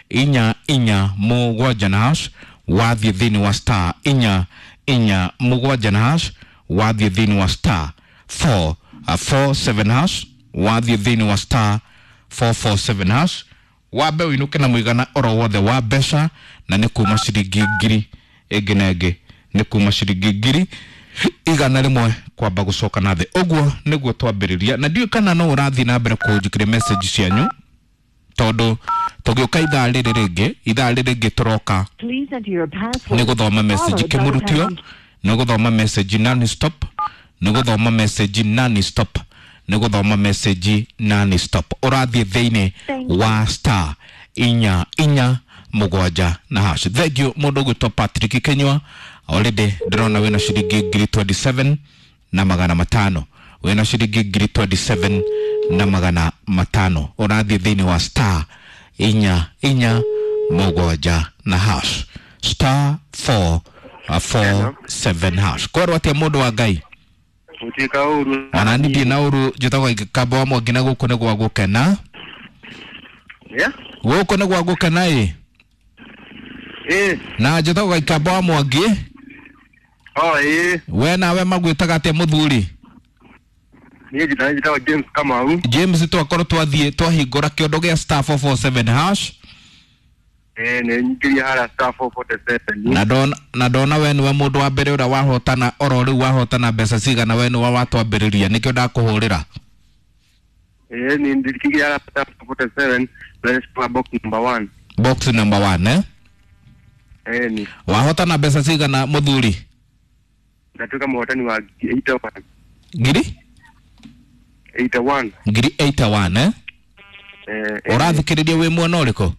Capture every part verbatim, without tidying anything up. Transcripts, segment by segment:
inya inya mũgwanja na hash. Wathiĩ thĩinĩ wa star inya inya mũgwanja na hash, wathiĩ thĩinĩ wa star four four seven hash, wathiĩ thĩinĩ wa star four four seven hash, wambe ũinũke na mũigana oro wothe wa mbeca, na nĩ kuma ciringi ngiri ĩngĩ na ĩngĩ, nĩ kuma ciringi ngiri igana rĩmwe kwamba gũcoka na thĩ. Ũguo nĩguo twambĩrĩria, na ndiũĩ kana no ũrathiĩ na mbere kũnjĩkĩria message cianyu, tondũ tũgĩũka ithaa rĩrĩ rĩngĩ, ithaa rĩrĩ rĩngĩ tũroka Please enter your password nĩ gũthoma message followed by the kĩmũrutio, pound. nĩ gũthoma message non stop, nĩ gũthoma message non stop, nĩ gũthoma message non stop. Ũrathiĩ thĩinĩ Thank you. wa star inya inya mũgwanja na hash. Thank you mũndũ ũgwĩtwo Patrick Kenywa, already ndĩrona wĩna ciringi ngiri twenty-seven na magana matano, wĩna ciringi ngiri twenty-seven na magana matano. Ũrathiĩ thĩinĩ wa star inya inya mũgwanja na hash, star four four seven hash. Kwarwo atĩa mũndũ wa Ngai? Gũtuĩka ũru. Ona niĩ ndirĩ na ũru, njĩtagwo Kamba wa Mwangi, na gũkũ nĩ gwa gũkena. Yeah? Gũkũ nĩ gwa gũkena ĩ. Ĩ. Na njĩtagwo Gĩkamba wa Mwangi. Oh, ĩ. We nawe magwĩtaga atĩa mũthuri? Niĩ njĩtagwo njĩtagwo James Kamau. James, twakorwo twathiĩ twahingũra kĩondo gĩa star four four seven hash. Ĩ, nĩ nyingĩria harĩa star four forty seven. Na ndona, na ndona we nĩwe mũndũ wa mbere ũrĩa wahotana oro rĩu, wahotana mbeca cigana, we nĩwe watwambĩrĩria, nĩkĩo ndakũhũrĩra. Ĩ, nĩ ndikĩria harĩa star four forty seven, na box number one. Box number one, eh? Ĩ, ni. Wahotana mbeca cigana mũthuri? Ndatuĩka mũhotani wa eighty one. Ngiri? eighty one. Ngiri eighty one, eh? Eh, eh. Ũrathikĩrĩria wĩ mwena ũrĩkũ?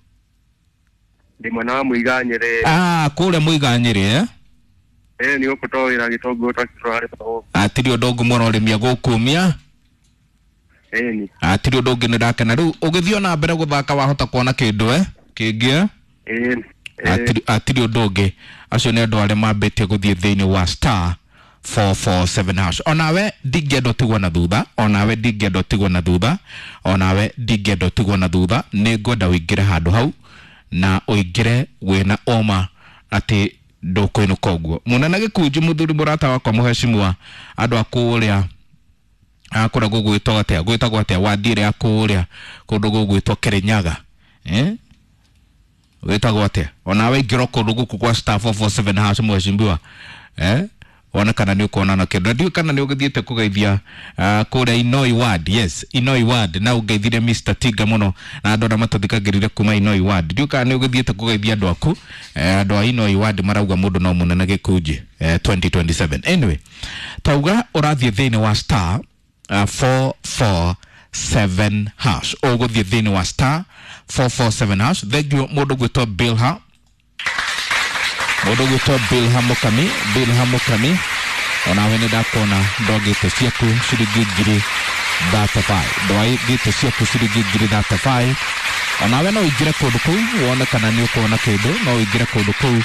Ndĩ mwena wa Mũiganyĩrĩ. Ah, kũrĩa Mũiganyĩrĩ, eh? Ĩ, nĩ gũkũ to wĩra gĩtũngũrũ twakĩrora harĩa. Hatirĩ ũndũ ũngĩ mũrorĩmia gũkumia. Ĩ, ni. Hatirĩ ũndũ ũngĩ, nĩ ndakena. Rĩu ũgĩthiĩ ona mbere gũthaka wahota kuona kĩndũ, eh? Kĩngĩ, eh? Ĩ, ĩ. Hatirĩ, hatirĩ ũndũ ũngĩ. Acio nĩ andũ arĩa mambĩtie gũthiĩ thĩinĩ wa star four four seven hash. Onawe ndingĩenda ũtigwo na thutha, onawe ndingĩenda ũtigwo na thutha, onawe ndingĩenda ũtigwo na thutha. Nĩ ngwenda ũingĩre handũ hau na ũingĩre wĩna ũma atĩ ndũkũinũka ũguo. Mũnene gĩkunji mũthuri mũrata wakwa mũhecimua, andũ a kũrĩa kũrĩa gũgwĩtwo atĩa, gwĩtagwo atĩa wadi ĩrĩa ya kũrĩa kũndũ gũgwĩtwo Kĩrĩnyaga, eh? Wĩtagwo atĩa? Onawe ingĩra kũndũ gũkũ kwa star four four seven hash mũhecimiwa, eh? Wone kana nĩ ũkuona na kĩndũ. Na ndiũĩ kana nĩ ũgĩthiĩte kũgeithia, uh, kũrĩa Inoi Ward. Yes, Inoi Ward, na ũngeithirie Mister Tinga mũno na andũ arĩa matũthikagĩrĩria kuma Inoi Ward. Ndiũĩ kana nĩ ũgĩthiĩte kũgeithia andũ aku, eh, andũ a Inoi Ward marauga mũndũ no mũnene gĩkunji, eh, twenty twenty-seven. Anyway, tauga ũrathiĩ thĩinĩ wa star, uh, four four seven hash. Ũgũthiĩ thĩinĩ wa star four four seven hash. Thank you mũndũ gwĩtwo Bilha. Mũndũ gwĩtwo Bilha Mũkami, Bilha Mũkami, onawe nĩ ndakuona ndwagĩte ciaku ciringi ngiri thirty-five. Ndwagĩte ciaku ciringi ngiri thirty-five. Onawe no ũingĩre kũndũ kũu wone kana nĩ ũkuona kĩndũ, no ũingĩre kũndũ kũu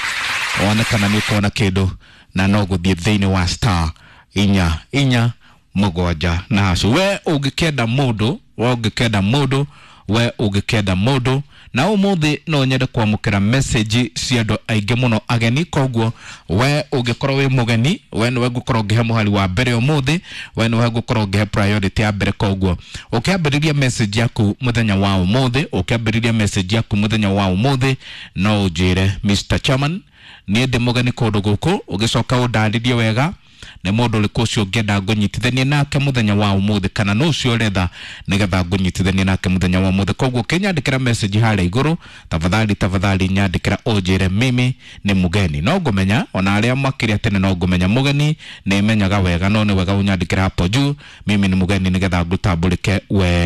wone kana nĩ ũkuona kĩndũ, na no gũthiĩ thĩinĩ wa star inya inya mũgwanja na hash. We ũngĩkenda mũndũ, we ũngĩkenda mũndũ, we ũngĩkenda mũndũ, na ũmũthĩ no nyende kwamũkĩra message cia andũ aingĩ mũno ageni. Koguo we ũngĩkorwo wĩ mũgeni, we nĩwe ngũkorwo ngĩhe mũhari wa mbere ũmũthĩ, we nĩwe ngũkorwo ngĩhe priority ya mbere. Koguo ũkĩambĩrĩria message yaku mũthenya wa ũmũthĩ, ũkĩambĩrĩria message yaku mũthenya wa ũmũthĩ, no ũnjĩre Mister Chairman, niĩ ndĩ mũgeni kũndũ gũkũ, ũgĩcoka ũndarĩrie wega nĩ mũndũ ũrĩkũ ũcio ũngĩenda ngũnyitithanie nake mũthenya wa ũmũthĩ, kana nũ ũcio ũretha nĩgetha ngũnyitithanie nake mũthenya wa ũmũthĩ. Koguo ũkĩnyandĩkĩra message harĩa igũrũ, tafadhali, tafadhali nyandĩkĩra ũnjĩre mimi nĩ mũgeni. No ngũmenya ona arĩa makĩria tene, no ngũmenya mũgeni nĩ menyaga wega, no nĩ wega ũnyandĩkĩre hapo juu mimi nĩ mũgeni nĩgetha ngũtambũrĩke wega.